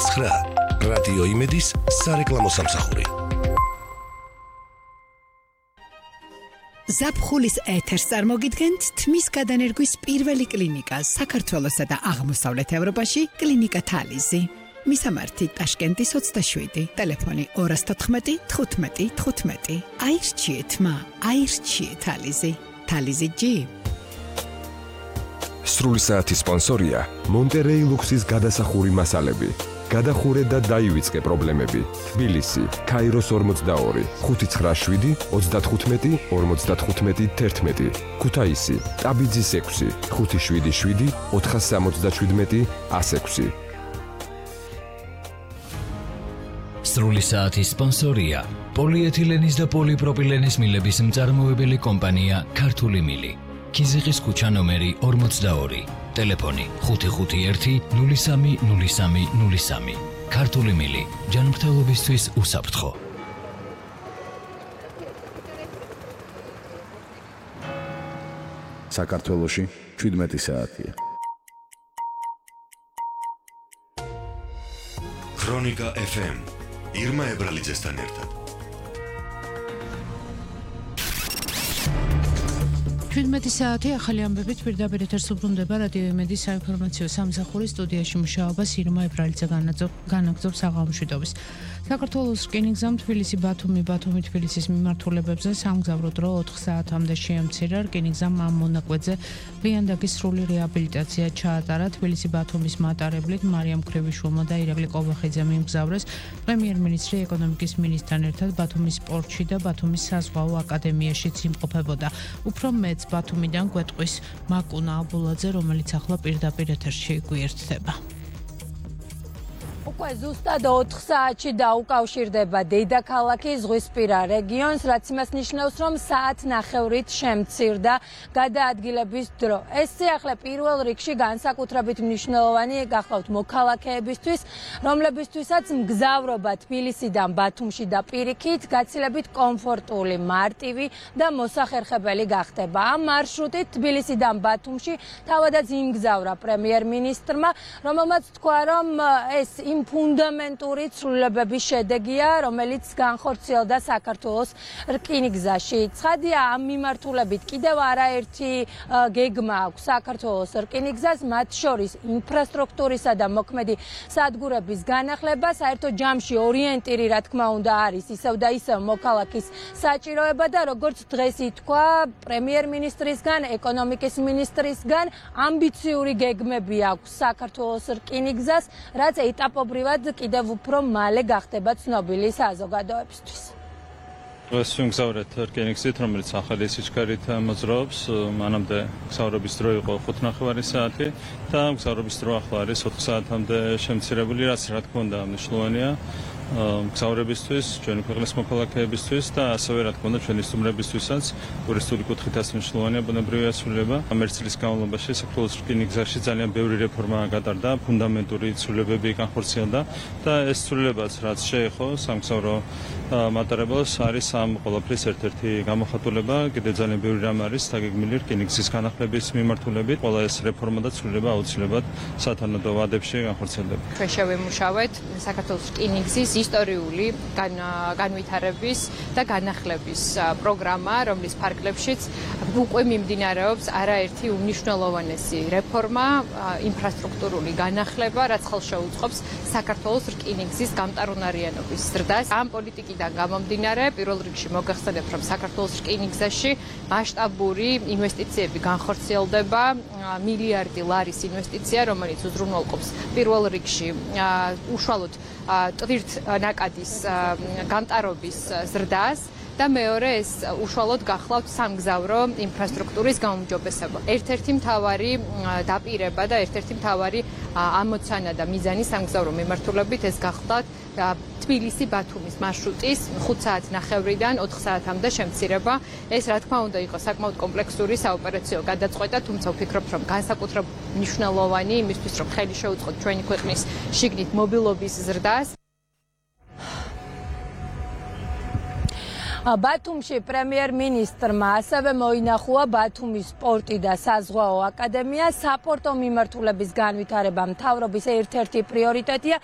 99 რადიო იმედის სარეკლამო სამსახური. ზაფხულის ეთერს წარმოგიდგენთ თმის გადანერგვის პირველი კლინიკა საქართველოსა და აღმოსავლეთ ევროპაში კლინიკა თალიზი. მისამართი ტაშკენტის 27, ტელეფონი 214 15 15. აირჩიეთ მა, აირჩიეთ თალიზი. თალიზი ჯი. სრული საათის სპონსორია მონტერეი ლუქსის გადასახური მასალები. გადახურე და დაივიწყე პრობლემები. თბილისი, ქაიროს 42, 597 35 55 11. ქუთაისი, ტაბიძის 6, 577 477 106. სრული საათის სპონსორია პოლიეთილენის და პოლიპროპილენის მილების მწარმოებელი კომპანია ქართული მილი. ქიზიყის ქუჩა ნომერი 42, ტელეფონი 551 03 03 03. ქართული მილი, ჯანმრთელობისთვის უსაფრთხო. საქართველოში 17 საათია. ქრონიკა FM ირმა ებრალიძესთან ერთად. 17 საათი ახალი ამბებით პირდაპირ ეთერს უბრუნდება რადიო იმედის საინფორმაციო სამსახურის სტუდიაში მუშაობას ირმა ებრალიძე განაგრძობს საღამოშვიდობის. საქართველოს რკინიგზამ თბილისი-ბათუმი-ბათუმი-თბილისის მიმართულებებზე სამგზავრო დრო 4 საათამდე შეამცირა. რკინიგზამ ამ მონაკვეთზე ლიანდაგის სრული რეაბილიტაცია ჩაატარა. თბილისი-ბათუმის მატარებლით მარიამ ქრევიშვილმა და ირაკლი ყობახიძე მიმგზავრეს პრემიერ-მინისტრი ეკონომიკის მინისტრთან ერთად ბათუმის პორტში და ბათუმის საზღვაო აკადემიაშიც იმყოფებოდა. უფრო მეც ბათუმიდან გვეტყვის მაკუნა აბულაძე, რომელიც ახლა პირდაპირ ეთერში გვიერთდება. უკვე ზუსტად 4 საათში დაუკავშირდება დედაქალაქი ზღვისპირა რეგიონს, რაც იმას ნიშნავს, რომ საათნახევრით შემცირდა გადაადგილების დრო. ეს სიახლე პირველ რიგში განსაკუთრებით მნიშვნელოვანი გახლავთ მოქალაქეებისთვის, რომლებისთვისაც მგზავრობა თბილისიდან ბათუმში და პირიქით გაცილებით კომფორტული, მარტივი და მოსახერხებელი გახდება. ამ მარშრუტით თბილისიდან ბათუმში თავადაც იმგზავრა პრემიერ-მინისტრმა, რომელმაც თქვა, რომ ეს იმ ფუნდამენტური ცვლილებების შედეგია, რომელიც განხორციელდა საქართველოს რკინიგზაში. ცხადია, ამ მიმართულებით კიდევ არაერთი გეგმა აქვს საქართველოს რკინიგზას, მათ შორის ინფრასტრუქტურისა და მოქმედი სადგურების განახლება, საერთო ჯამში ორიენტირი, რა თქმა უნდა, არის ისევ და ისევ მოქალაქის საჭიროება და როგორც დღეს ითქვა პრემიერ-მინისტრისგან, ეკონომიკის მინისტრისგან, ამბიციური გეგმები აქვს საქართველოს რკინიგზას, რაც ეტაპობრივად კიდევ უფრო მალე გახდება ცნობილი საზოგადოებისთვის. დღეს ვიმგზავრეთ რკინიგზით, რომელიც ახალი სიჩქარით მოძრაობს. მანამდე მგზავრობის დრო იყო 5:30 საათი და მგზავრობის დრო ახლა არის 4 საათამდე შემცირებული, რაც რა თქმა უნდა მნიშვნელოვანია მგზავრებისთვის, ჩვენი ქვეყნის მოქალაქეებისთვის და ასევე რა თქმა უნდა ჩვენი სტუმრებისთვისაც ტურისტული კუთხითაც მნიშვნელოვანია ბუნებრივი ასრულება. ამ ერთ წლის განმავლობაში საქართველოს რკინიგზაში ძალიან ბევრი რეფორმა გატარდა, ფუნდამენტური ცვლილებები განხორციელდა და ეს ცვლილებაც რაც შეეხო სამგზავრო მატარებელს არის ამ ყველაფრის ერთ-ერთი გამოხატულება. კიდევ ძალიან ბევრი რამ არის დაგეგმილი რკინიგზის განახლების მიმართულებით. ყველა ეს რეფორმა და ცვლილება აუცილებლად სათანადო ვადებში განხორციელდება. ჩვენ შევიმუშავეთ საქართველოს რკინიგზის ისტორიული განვითარების და განახლების პროგრამა, რომლის ფარგლებშიც უკვე მიმდინარეობს არაერთი უმნიშვნელოვანესი რეფორმა, ინფრასტრუქტურული განახლება, რაც ხელშეუწყობს საქართველოს რკინიგზის გამტარუნარიანობის ზრდას. ამ პოლიტიკიდან გამომდინარე, პირველ რიგში მოგახსენებთ, რომ საქართველოს რკინიგზაში მასშტაბური ინვესტიციები განხორციელდება, მილიარდი ლარის ინვესტიცია, რომელიც უზრუნველყოფს პირველ რიგში უშუალოდ ტვირთნაკადის გამტარობის ზრდას და მეორე ეს უშუალოდ გახლავთ სამგზავრო ინფრასტრუქტურის გაუმჯობესება. ერთ-ერთი მთავარი დაპირება და ერთ-ერთი მთავარი ამოცანა და მიზანი სამგზავრო მიმართულებით ეს გახლავთ თბილისი-ბათუმის მარშრუტის 5 საათნახევრიდან 4 საათამდე შემცირება. ეს რა თქმა უნდა იყო საკმაოდ კომპლექსური საოპერაციო გადაწყვეტა, თუმცა ვფიქრობ, რომ განსაკუთრებით მნიშვნელოვანი იმისთვის, რომ ხელი შეუწყოთ ჩვენი ქვეყნის შიგნით მობილობის ზრდას. ბათუმში პრემიერ-მინისტრმა ასევე მოინახუა ბათუმის პორტი და საზღვაო აკადემია. საპორტო მიმართულების განვითარება მთავრობის ერთ-ერთი პრიორიტეტია.